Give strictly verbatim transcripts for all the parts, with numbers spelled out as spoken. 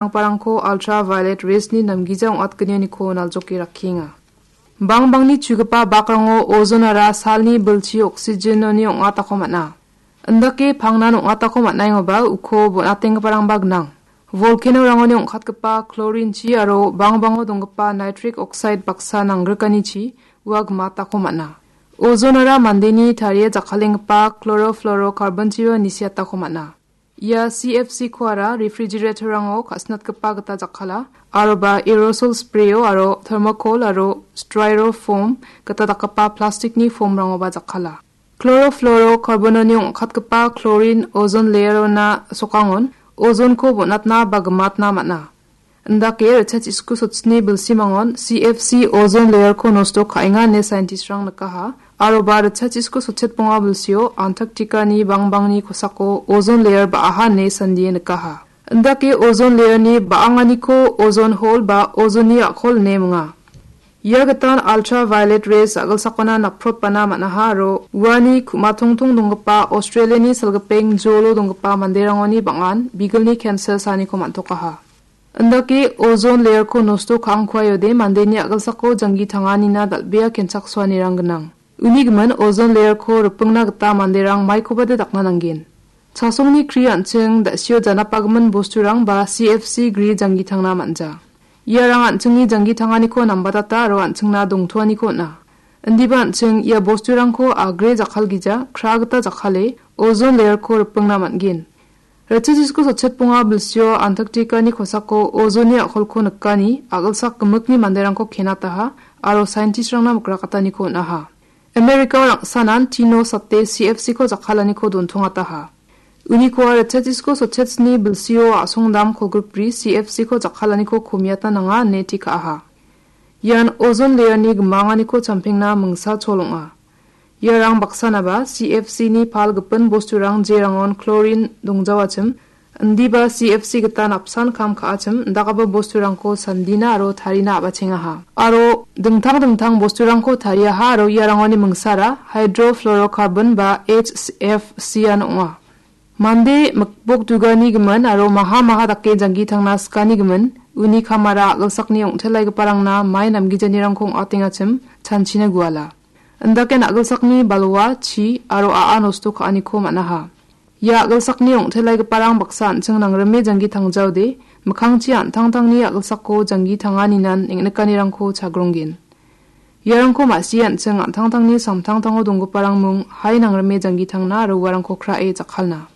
Rangparangko ultraviolet rays-ni namgija ong·atgenioniko naljoke rakkienga. Bangbangni chugipa bakrango ozonara salni bilchi oxygen-oni ong·atako man·a. Indake pangnan ong·atako man·aengoba uko bon·atenggiparangba gnang. Volcano-rangoni ong·katgipa chlorine-chi aro bangbango donggipa nitric oxide baksa nanggrikanichi ua gimatako man·a. Ozonara mandeni tarie jakkalenggipa chlorofluorocarbon-chiba nisiatako man·a. Ia C F C-koara refrigerator-rango ka·sinatgipa gita jakkala, aroba aerosol sprayo aro thermocol aro styrofoam gita dakgipa plastikni foam-rangoba jakkala. Chlorofluorocarbon-oni ong·katgipa chlorine ozone layer-ona sokangon ozonko bon·atna ba gimatna man·a. Indake ritchachisku sotchini bilsimangon C F C ozone layer-ko nosto ka·enga ine scientist-rang nikaha. Aroba ritchachisku sotchet bonga bilsio Antarctica-ni bangbangni kosako ozone layer ba·aha ine sandie nikaha. Indake ozone layer-ni ba·anganiko ozone hole ba ozone-ni a·kol ine minga. Ia gitan ultraviolet rays a·gilsakona naprotbana man·aha aro uani ku·matongtong donggipa Australia-ni salgipeng jolo donggipa manderangoni bang·an bigilni cancer saaniko man·tokaha. Indake ozone layer-ko nosto ka·angkuaiode mandeni a·gilsako janggi tanganina dal·bea kenchaksoanirang gnang. Uni gimin ozone layer-ko ripingna gita manderang maikobade dakna nanggen. Chasongni kri an·ching da·sio janapagimin bosturang ba C F C gri janggi tangna man·ja. Iarang an·chingni janggi tanganiko nambatata aro an·chingna dongtoaniko on·a. Indiba an·ching ia bosturangko agre jakkalgija, kra gita jakkale, ozone layer-ko ripingna man·gen. Ritchachisku sotchet bonga bilsio Antarctica-ni kosako ozone-ni a·kolko nikani a·gilsak gimikni manderangko kenataha aro scientist-rangna mikrakataniko on·aha. America-o rangsanan tino sate C F C-ko jakkalaniko dontongataha. Unikoa ritchachisku sotchetsni bilsio a·songdam kolgrikbri C F C-ko jakkalaniko komiatna nanga ine tekaha. Ian ozone layer-ni gimanganiko champengna mingsa chol ong·a. Iarang baksanaba C F C-ni pal gipin bosturang jerangon chlorine dongjawachim, indiba C F C gitan apsan kam ka·achim, indakgipa bosturangko sandina aro tarina a·bachengaha. Aro dingtang dingtang bosturangko tariaha aro iarangoni mingsara hydrofluorocarbon ba H F C-an ong·a. Mande mikbok dugani gimin aro maha maha dake janggi tangna sikani gimin, uni kamara a·gilsakni ong·telaigiparangna mai namgijanirangko ong·atengachim chanchina guala. Indake a·gilsakni balwa, chi aro a·a nosto ka·aniko man·aha. Ia a·gilsakni ong·telaigiparang baksa an·ching nangrime janggi tangjaode, mikkangchi an·tangtangni a·gilsako janggi tanganinan neng·nikanirangko chagronggen. Iarangko ma·sie an·ching an·tangtangni samtangtango donggiparang mung hai nangrime janggi tangna aro uarangko krae jakkalna.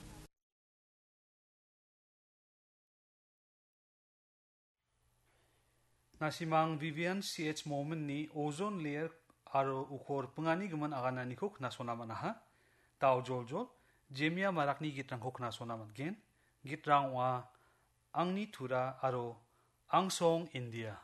Nasimang Vivian C H Momin-ni ozone layer aro uko ripingani gimin agananiko knasona man·aha. Dao joljol, Jemia Marakni gitrangko knasona man·gen. Gitrang ong·a Angni Tura aro Angsong India.